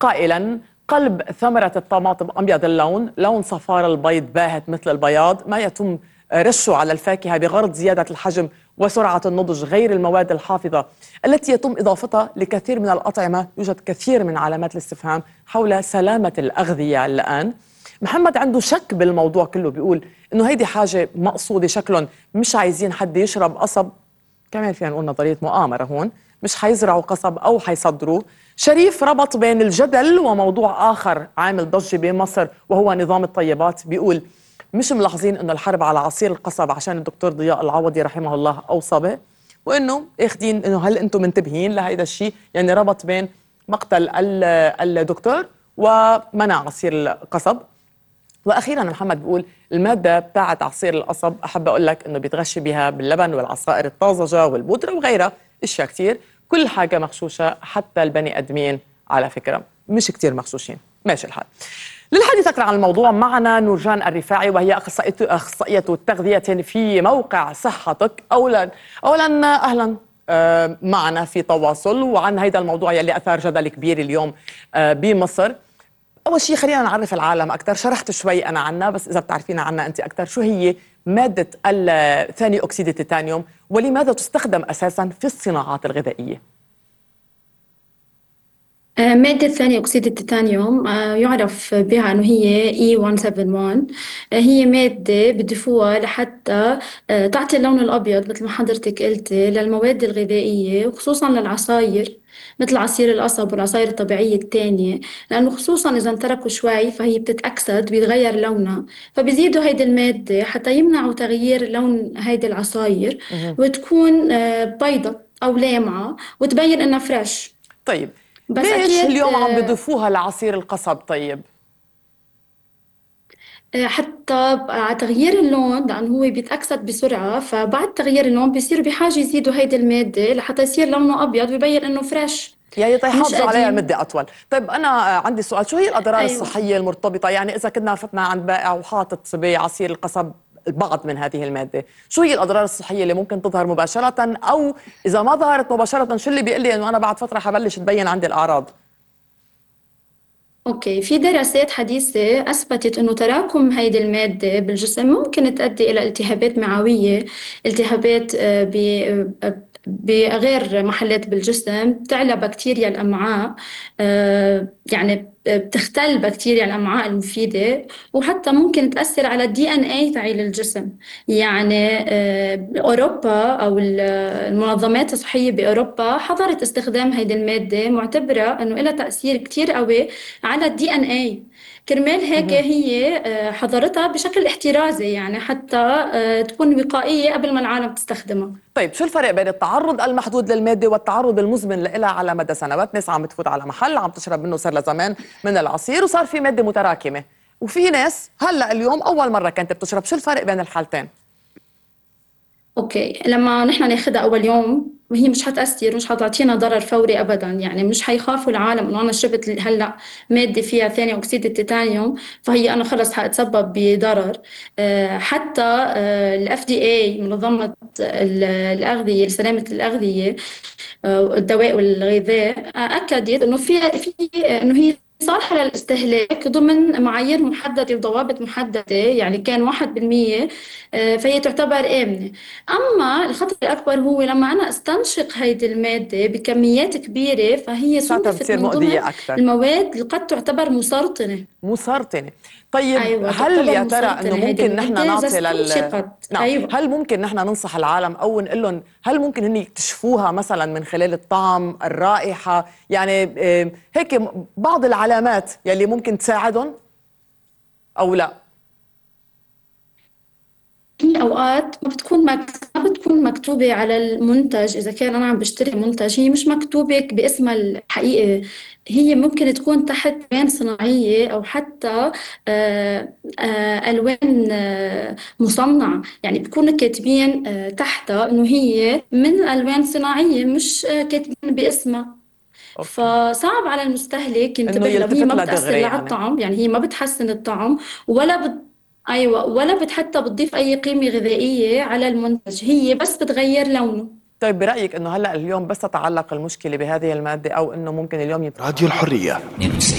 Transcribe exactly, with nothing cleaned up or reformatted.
قائلا: قلب ثمرة الطماطم أبيض اللون، لون صفار البيض باهت مثل البياض، ما يتم رشه على الفاكهة بغرض زيادة الحجم وسرعة النضج، غير المواد الحافظة التي يتم إضافتها لكثير من الأطعمة. يوجد كثير من علامات الاستفهام حول سلامة الأغذية الآن. محمد عنده شك بالموضوع كله، بيقول إنه هيدي حاجة مقصودة، شكلهم مش عايزين حد يشرب قصب. كمان فينا نقول نظرية مؤامرة هون، مش حيزرعوا قصب أو حيصدروه. شريف ربط بين الجدل وموضوع آخر عامل ضجة بمصر وهو نظام الطيبات. بيقول مش ملاحظين انه الحرب على عصير القصب عشان الدكتور ضياء العوضي رحمه الله اوصى به، وانه اخذين انه هل انتم منتبهين لهيدا الشيء؟ يعني ربط بين مقتل الدكتور ومنع عصير القصب. واخيرا محمد بيقول الماده بتاعت عصير القصب احب اقول لك انه بيتغشي بها باللبن والعصائر الطازجه والبودره وغيرها اشياء كثير، كل حاجه مغشوشه، حتى البني ادمين على فكره مش كثير مغشوشين. ماشي الحال. للحديث أكثر عن الموضوع معنا نورجان الرفاعي، وهي أخصائية التغذية في موقع صحتك. أولا أولا أهلا معنا في تواصل وعن هذا الموضوع يلي أثار جدل كبير اليوم بمصر. أول شيء خلينا نعرف العالم أكثر، شرحت شوي أنا عنها بس إذا بتعرفينا عنها أنت أكثر، شو هي مادة ثاني أكسيد التيتانيوم ولماذا تستخدم أساسا في الصناعات الغذائية؟ مادة ثاني أكسيد التيتانيوم يعرف بها أنه هي إي مئتين وواحد وسبعين. هي مادة بضيفوها لحتى تعطي اللون الأبيض مثل ما حضرتك قلتي للمواد الغذائية، وخصوصا للعصاير مثل عصير القصب والعصاير الطبيعية التانية، لأنه خصوصا إذا انتركوا شوي فهي بتتأكسد بيتغير لونها، فبيزيدوا هيدي المادة حتى يمنعوا تغيير لون هيدي العصاير وتكون بيضة أو لامعة وتبين إنها فريش. طيب بس ليش اليوم عم بيضيفوها لعصير القصب؟ طيب حتى على تغيير اللون، لأنه هو بيتأكسد بسرعة، فبعد تغيير اللون بيصيروا بحاجة يزيدوا هيدي المادة لحتى يصير لونه أبيض ويبين إنه فريش، يعني يحافظوا عليها مدة أطول. طيب أنا عندي سؤال، شو هي الأضرار أيوة. الصحية المرتبطة؟ يعني إذا كنا فتنا عند بائع وحاطط بعصير القصب بعض من هذه المادة، شو هي الأضرار الصحية اللي ممكن تظهر مباشرة، أو إذا ما ظهرت مباشرة شو اللي بيقول لي إنه أنا بعد فترة حبلش تبين عندي الأعراض؟ أوكي، في دراسات حديثة أثبتت إنه تراكم هيدي المادة بالجسم ممكن تؤدي إلى التهابات معوية، التهابات بغير محلات بالجسم، تعلى بكتيريا الأمعاء، يعني بتختل بكتيريا الأمعاء المفيدة، وحتى ممكن تأثر على الدي ان اي تاعي للجسم. يعني أوروبا أو المنظمات الصحية بأوروبا حظرت استخدام هيدي المادة، معتبرة أنه لها تأثير كتير قوي على الدي ان اي. كرمال هيك هي حظرتها بشكل احترازي، يعني حتى تكون وقائية قبل ما العالم تستخدمها. طيب شو الفرق بين التعرض المحدود للمادة والتعرض المزمن لها على مدى سنوات؟ ناس عم بتفوت على محل عم تشرب منه صار لزمان من العصير وصار في مادة متراكمة، وفي ناس هلا اليوم أول مرة كانت بتشرب. شو الفرق بين الحالتين؟ اوكي، لما نحن ناخدها اول يوم هي مش حتأثر، مش حتعطينا ضرر فوري ابدا، يعني مش حيخافوا العالم انه انا شربت هلا ماده فيها ثاني اكسيد التيتانيوم فهي انا خلص حاتسبب بضرر. أه حتى الاف دي اي، منظمه الاغذيه لسلامه الاغذيه والدواء والغذاء، اكدت انه في في انه هي صالحة للاستهلاك ضمن معايير محددة وضوابط محددة، يعني كان واحد بالمية، فهي تعتبر آمنة. أما الخطر الأكبر هو لما أنا استنشق هيدي المادة بكميات كبيرة فهي صنفت من ضمن المواد اللي قد تعتبر مسرطنة. مسرطنة. طيب أيوة، هل يا ترى انه ممكن نحن نعطي لل نعم. أيوة. هل ممكن نحن ننصح العالم او نقول لهم هل ممكن هن يكتشفوها مثلا من خلال الطعم، الرائحة، يعني هيك بعض العلامات يلي ممكن تساعدهم او لا؟ في اوقات ما بتكون ما بتكون مكتوبه على المنتج، اذا كان انا عم بشتري منتج هي مش مكتوبه باسمها الحقيقي، هي ممكن تكون تحت الوان صناعيه او حتى آآ آآ الوان آآ مصنعه، يعني بكونوا كاتبين تحتها انه هي من الوان صناعيه مش كاتبين باسمها. أوكي. فصعب على المستهلك ينتبه لها، هي ما بتأثر لا على الطعم، يعني هي ما بتحسن الطعم ولا بت... أيوة، ولا بت حتى بتضيف أي قيمة غذائية على المنتج، هي بس بتغير لونه. طيب برأيك أنه هلأ اليوم بس تتعلق المشكلة بهذه المادة أو أنه ممكن اليوم يت... راديو الحرية